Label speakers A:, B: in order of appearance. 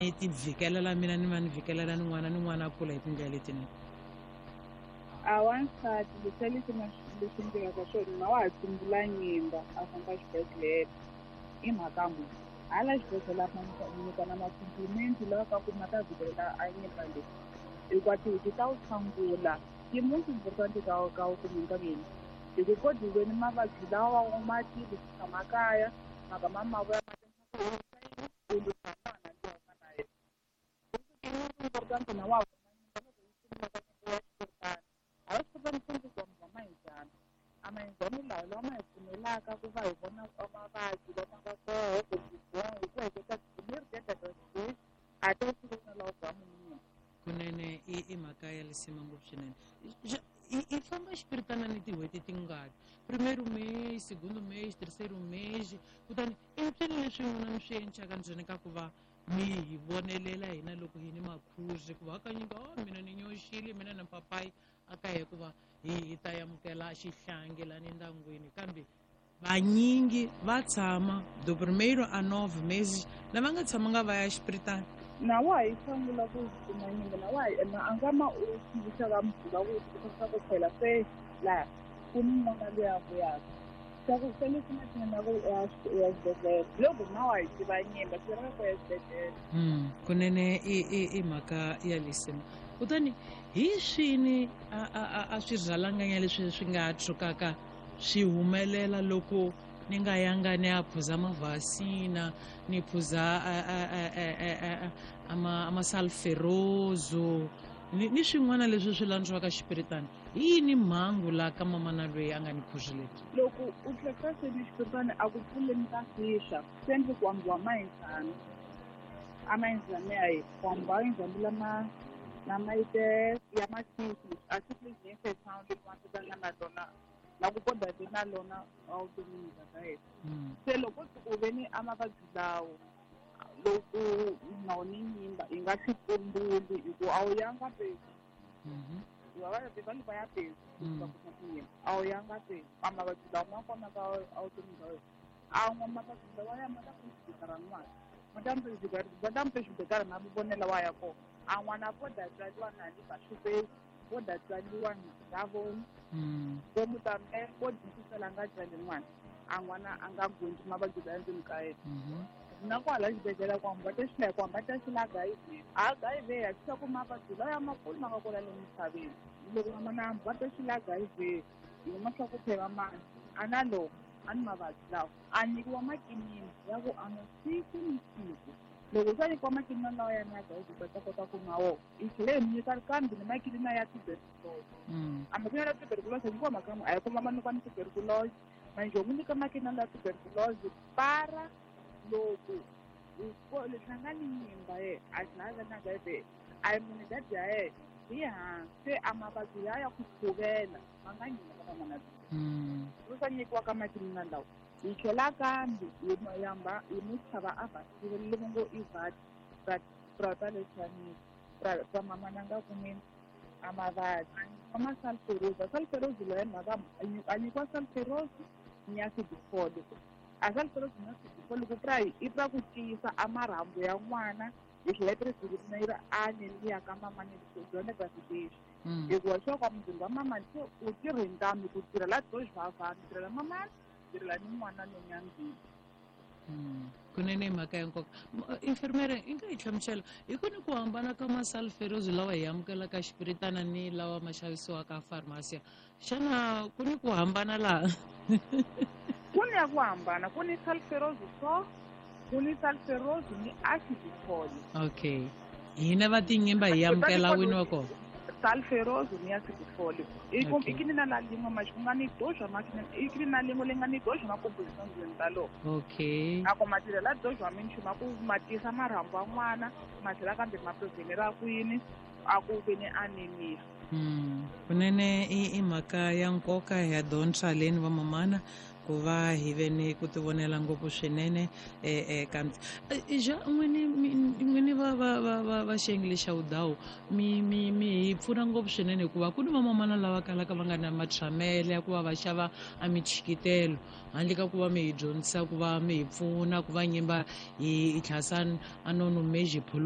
A: Ni ti vhikelela mina ni va ni vhikelela ni n'wana ni n'wana a kula hi tindlela letinene.
B: A wansati leswiya leswi nga leswi endlekaka swona na wa ha tsumbula nyimba a famba xibedhlele i mhaka muni hala xibedhlele a nyikana ma-compliment lawa ka ku ma ta vhikelela a nyimba leyi hikuva tihuku ta wu tshangula ti most important ka ka u kumeka yini hi ku kodiweni mavabyi lawa wa ma tivi ku tshama kaya mhaka ma mavoya ma u lwisa n'wana luya u nga na yena important na wa vona nyimba loko yi sungula ka nyimba ya xikorotana a va xikorotana swi ku va mayinjhani a mayinjhani lawa lawa ma hi pfumelaka ku va hi vona mavabyi lama nga koho kumbe hi ku heketa miri a ta swi na lawa bya munhu.
A: Kunene i mhaka ya lisima ngopfu swinene. I famba xipiritana ni tin'hweti tingaki? Primeiro mês, segundo mês, terceiro mês, kutani i mpfini leswi n'wina mi swi endlaka ndzeni ka ku va mi hi vonelela hina loko hi ni makhuzi, hikuva hakanyingi o mina ni nyoxile mina na papayi a ka hikuva hi ta amukela xihlangi lani ndyangwini, kambe vanyingi va tshama do primeiro a 9 meses lava nga tshamanga va ya xipiritana.
B: Na wa ha yi sungula ku kuma nyimba na wa ha na a nga ma u tivisa va muganga ku tivisa ku phela se laha ku ni n'wana loyi a vuyaka swa ku se leswi nga na ku ya xibedhlele loko na wa yi tiva nyimba swi laveka ku ya xibedhlele.
A: Kunene i mhaka ya lisima. Kutani hi swini a swi rhalanganya leswi swi nga tshukaka swi humelela loko ni nga yanga ni ya phuza mavhasina, ni phuza amasalferozo ni swin'wana leswi swi landziwaka xipiritana? Hi yini mhangu la ka mamana loyi a nga ni phuzi lebyi?
B: Loko u tlheka se ni xipiritana a ku pfuleni ka fixa swi endle ku ambiwa mayinzana a mayinzana ya hi ku ambiwa mayinzana lama lama ite ya masisi a swi infection leyi n'wansati na lona la ku kodwa vi na lona evuton'wini bya ka yena. Se loko u ve ni a mavabyi lawo loko na ni nyimba yi nga swi tsumbuli hi ku a wu yanga pezi va va ya pezi va kuma tinyimba a wu yanga pezi a mavabyi lawa ma kona ka evuton'wini bya wena a n'wa mavabyi lawa ya ma ta ku ra n'wana ma ta mi ma vonela wa ya kona a n'wana vo da tswariwa na ni va xupezi vo da tswariwa na ra vona vo mutambe vo dyisisela nga tswali n'wana a n'wana a nga gondzi mavabyi la ndzeni ka yena. Na kwala xibedhlele ku hamba ta xila ku hamba ta xila HIV HIV ya xisa ku mavabyi lawa ya makulu ma nga kona le misaveni loko n'wana hamba ta xila HIV hi ma swa ku phela mani a na loko a ni mavabyi lawa a nyikiwa makinini ya ku a nwa siku ni siku. Loko se a nyikiwa makinini lawa ya na HIV va ta kota ku nwa wona hi tlhela hi nyika kambe ni makinini ya tuberculose. A makinini ya tuberculose nyikiwa mhaka a hi kuma ma nyikiwa ni tuberculose manje u nyika makinini ya tuberculose para loko leswi a nga ni nyimba ye a tlhela a na HIV a hi munhu dadi ya yena hi hansi a mavabyi ya ku tshuvela ma nga nyima ka van'wana ro sa nyikiwa ka makinini lawa. Hi tlhela kambe hi yamba hi mu tlhava a vaccine leyi ngo i vat prata leswiyanisi pra mamana nga kumeni a mavabyi a ma salferose a salferose loyi mhaka a nyikiwa salferose ni ya CD4 a salferose ni ya CD4 loko pra i pra ku tiyisa a marhambu ya n'wana hi tlhela yi tirhisa yi ri anemia ka mamani byona lexi hikuva swa ka muzimba wa mamani se u tirhe ntambi ku tirhela to xivavana tirhela mamani tirhela ni n'wana lonyangeni.
A: Kunene mhaka ya nkoka. Infirmere i nga hi hlamusela hi ku ni ku hambana ka masalferosi lawa hi amukelaka xipiritana ni lawa ma xavisiwaka farmasiya? Xana ku ni ku hambana laha?
B: Ku ni ya ku hambana. Ku ni salferosi so ku ni salferosi ni acid folic.
A: Okay, hina va tinyimba hi amukela wini wa kona?
B: Salferosi ni acid folic i kini na la lin'we ma ku nga ni doxa ma i kini na lin'we leyi nga ni doxa ma composition ndzeni ta loko a ku ma tirhela doxa minchumu a ku ma tiyisa marhambu ya n'wana ma tlhela kambe ma prevenera kwini a ku ve ni anemia.
A: Kunene i mhaka ya nkoka ya dyondza leni vamamana ku va hi ve ni ku tivonela ngopfu swinene kambe ja n'wini va xiyenge lexa wudawu mi hi pfuna ngopfu swinene hikuva ku ni vamamana lava kalaka va nga na matshamele ya ku va va xava a michikitelo handle ka ku va mi hi dyondzisa ku va mi hi pfuna ku va nyimba hi tlhasa a nono meji phuluka.